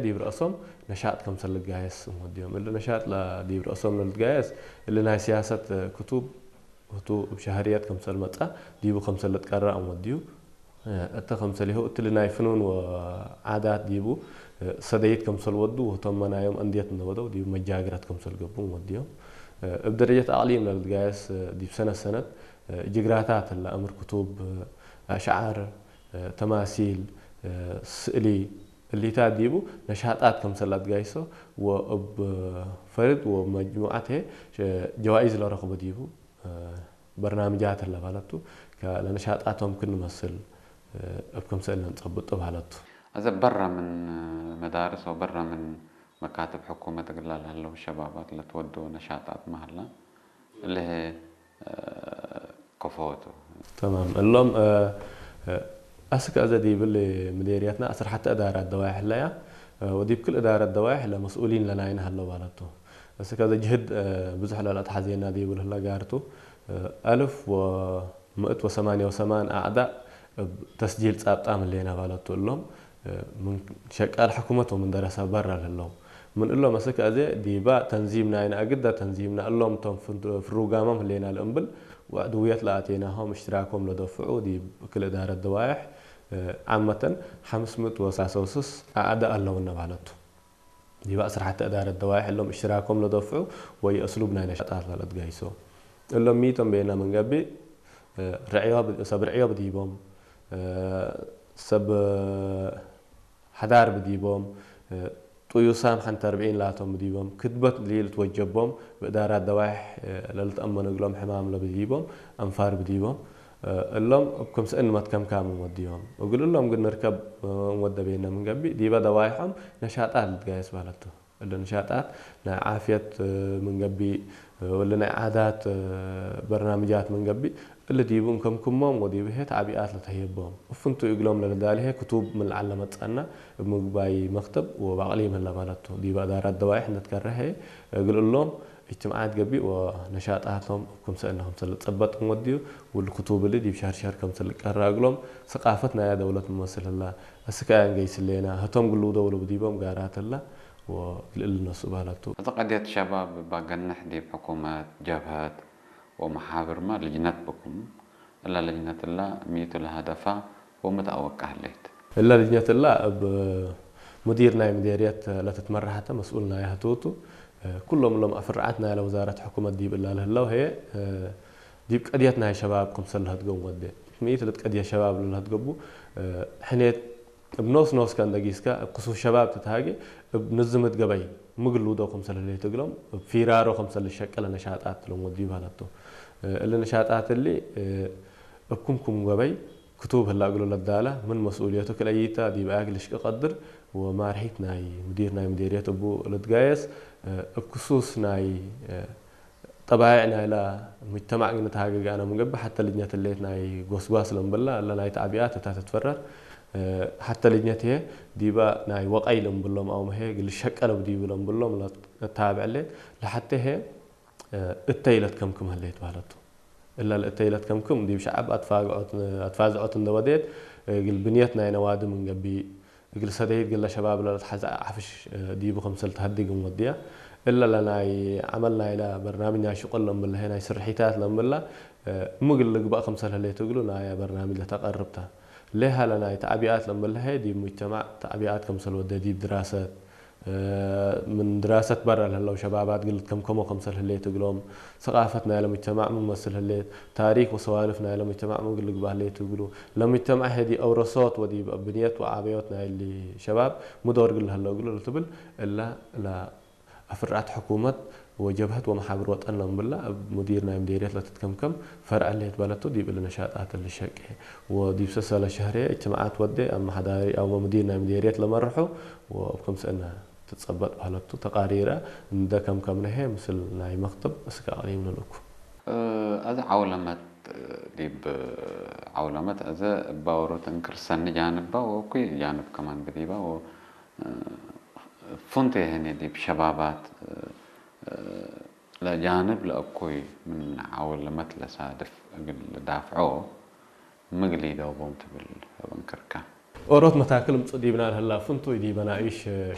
ዲብ ርእሶም ነሻጥ ከምሰል ልጋየስ እሞ ዲዮም። እሊ ነሻጥ ላ ዲብ ርእሶም ለልትጋየስ እሊ ናይ ሲያሰት ክቱብ ህቱ እብ ሸህርየት ከምሰል መጻ ዲቡ ከምሰል ልትቀራ እሞ ዲዩ። እተ ከምሰል ይኸው እትሊ ናይ ፍኑን ወዓዳት ዲቡ ሰደይት ከምሰል ወዱ ህቶም መናዮም እንድየት እነበደው ዲቡ መጃግረት ከምሰል ገቡ እሞ ዲዮም። እብ ደረጀት ኣቕሊም ለልትጋየስ ዲብ ሰነት ሰነት ጅግራታት እላ እምር ክቱብ ኣሽዓር ተማሲል ስእሊ እሊታት ዲቡ ነሻጣት ከምሰል ኣትጋይሶ ወእብ ፈርድ ወመጅሙዓት ጀዋኢዝ ለረኽቡ ዲቡ በርናምጃት ለባለቱ ለነሻጣቶም ክንመስል እብ ከምሰል ነንጸብጥ ባለቱ። እዚ በረ ምን መዳርስ ወበረ ምን መካትብ ሕኩመት እግላ ለህለው ሸባባት ለትወደው ነሻጣት መሃላ እልህ ከፈወቱ። ተማም እሎም ኣስክ ኣዘ ዲብል ምዴርያትና ኣስር ሓተ እዳራ ደዋይሕ ለያ ወዲብ ክል እዳራ ደዋይሕ ለመስኡሊን ለናይን ሃለው ባለቱ። እስከ ዘ ጅህድ ብዙሕ ለላ ተሓዜና ዲብል ህላ ጋርቱ ኣልፍ ወምእት ወሰማንያ ወሰማን ኣዕዳ ተስጂል ጻብጣም ህሌና ባለቱ እሎም ምን ሸቃል ሕኩመት ወምን ደረሰ በራ ለለው ምን እሎም እስከ ኣዘ ዲባ ተንዚም ናይና ኣግዳ ተንዚምና እሎም ቶም ፍሩጋሞም ህሌና ለእምብል ወዕድውየት ለኣቴናሆም እሽትራኮም ለደፍዑ ዲብ ክል እዳረት ደዋይሕ ዓመተን ሓምስ ምእት ወሳሰውስስ ኣዕዳ ኣለውና ባለቱ። ዲባ ስራሕቲ እዳረት ደዋይሕ እሎም እሽትራኮም ለደፍዑ ወይ እስሉብ ናይ ነሻጣት ለለትጋይሶ እሎም ሚቶም ቤና መንገቢ ርዕዮ ብ- ሰብ ርዕዮ ብዲቦም ሰብ ሓዳር ብዲቦም ጥዩሳም ሓንቲ ኣርብዒን ላቶም ብዲቦም ክትበት ሊል ትወጀቦም ብእዳራት ደዋይሕ ለልትኣመኑ እግሎም ሕማም ለብዲቦም ኣንፋር ብዲቦም እሎም እብ ክምስእን መትከምካም እንወድዮም እግል እሎም ግን ንርከብ እንወደቤና ምንገቢ ዲበ ደዋይሖም ነሻጣት ልትጋየስ ባለቱ። እለ ነሻጣት ናይ ዓፍየት ምንገቢ ወለ ናይ ዓዳት በርናምጃት ምንገቢ እለ ዲቡ እንከምክሞም ወዲቡ ሄ ተዕቢኣት ለተህየቦም እፍንቱ እግሎም ለልዳልሄ ክቱብ ምልዓል ለመጻና እብ ምግባይ መክተብ ወባቅሊ ምህላ ባለቱ ዲበ እዳራት ደዋይሕ ነትከረሄ እግል እሎም እጅትምዓት ገቢእ ወነሻጣቶም እብ ክምሰእነ ክምሰል ልጸበጥ እንወድዩ ውል ክቱብ እሊ ዲብ ሸርሸር ከምሰል ልቀራ እግሎም ሰቃፈት ናያ ደውለት ምመስል ህላ እስከ ኣያ እንገይስሌና ህቶም ግልው ደውሉ ብዲቦም ጋራት ህላ ወግልእል ነሱ ባለቱ። እዚ ቀድየት ሸባብ ባገንሕ ዲብ ሕኩመት፣ ጀብሀት ወመሓብርማ ልጅነት ብኩም። እላ ልጅነት እላ ሚቱ ለሀደፋ ወምትኣወቃ ህሌት። እላ ልጅነት እላ እብ ሙዲር ናይ ምዴርየት ለትትመራሐተ መስኡል ናያ ህትውቱ። ኩሎም እሎም ኣፍርዓት ናያ ለውዛረት ሕኩመት ዲብ እላ ለህለው ሀየ ዲብ ቀድየት ናይ ሸባብ ክምሰል ለህትገቡ ወዴ። ሚእት ልትቀድየ ሸባብ ለልህትገቡ ሕኔት እብ ኖስ ኖስከ እንደጊስከ እብ ክሱስ ሸባብ ትትሃጌ እብ ንዝምት ገበይ ምግል ውዶ ክምሰል ህሌት እግሎም እብ ፊራሮ ክምሰል ልሸቀለ ነሻጣት እሎም ወድዩ ባለቶ። እሊ ነሻጣት እሊ እብ ክምኩም ገበይ ክቱብ ህላ እግሎ ለዳላ ምን መስኡልየቱ ክለይታ ዲብ ኣያግ ልሽቀ ቀድር ወማርሒት ናይ ምዲር ናይ ምዴርየት እቡ ልትጋየስ እብ ክሱስ ናይ ጠባይዕ ናይላ ሙጅተማዕ ግን ተሃገጋና ምንገቢ ሓተ ልጅነት ሌት ናይ ጎስጓስ ለምብላ እለ ናይ ተዕቢኣት እታ ትትፈረር ሓተ ልጅነት እየ ዲባ ናይ ወቀይ ለምብሎም ኣው መሄ ግል ሸቀለ ብዲቡ ለምብሎም ለታብዕ ሌት ለሓተ ሄ እተይ ለትከምክም ህሌት ባህለቱ እለ ለእተይ ለትከምክም ዲብ ሸዓብ ኣትፋዝዖት እንደወዴት ግል ብንየት ናይ ነዋዲ ምንገቢ እግል ሰደይት ግለ ሸባብ ለለትሓዘ ዓፍሽ ዲቡ ከምሰል ተሀድግ እንወድያ እለ ለናይ ዓመል ናይለ በርናምጅ ናይ ሽቁል ለምብለሀ ናይ ስርሒታት ለምብላ ምግል ልግባእ ከምሰል ህሌት እግሉ ናያ በርናምጅ ለተቀርብታ ሌሃ ለናይ ተዕቢኣት ለምብለሀ ዲብ ሙጅተማዕ ተዕቢኣት ከምሰል ወደ ዲብ ድራሰት ምን ድራሰት በረ ለህለው ሸባባት ግል ትከምከሞ ከምሰል ህሌት እግሎም ሰቃፈት ናይለ ሙጅተማዕ ምን መስል ህሌት ታሪክ ወሰዋልፍ ናይለ ሙጅተማዕ ምን ግል ልግባእ ህሌት እግሉ ለሙጅተማዕ ሄዲ አውረሶት ወዲብ ብንየት ወዓበዮት ናይሊ ሸባብ ምዶር ግል ለህለው እግሉ ልትብል እላ ለአፍርዓት ሕኩመት ወጀብሀት ወመሓብር ወጠን ለምብላ እብ ሙዲር ናይ ምዴርየት ለትትከምከም ፈርዐ ሌት በለቱ ዲብ እሊ ነሻጣት ልሸቄ ወዲብ ሰሰለ ሸህሬ እጅትምዓት ወዴ ኣመሓዳሪ ኣው ሙዲር ናይ ምዴርየት ለመርሑ ወእብ ክምስእነ ትጸበጥ ባህለቱ ተቃሪረ እንደ ከምከምነሄ ምስል ናይ መክተብ እስከ ኣቅሪም ንልኩ። እዚ ዓውለመት ዲብ ዓውለመት እዚ እባ ወሮት እንክርሰኒ ጃንባ ወኩይ ጃንብ ከማን ብዲባ ወ ፍንቱ የህኔ ዲብ ሸባባት ለጃንብ ለእኩይ ምን ዓውለመት ለሳድፍ እግል ልዳፍዖ ምግል ይደውቦም ትብል እብ እንክርካ። ኦሮት መታክል ምጹእ ዲብና ለህላ ፍንቱይ ዲበ ናኢሽ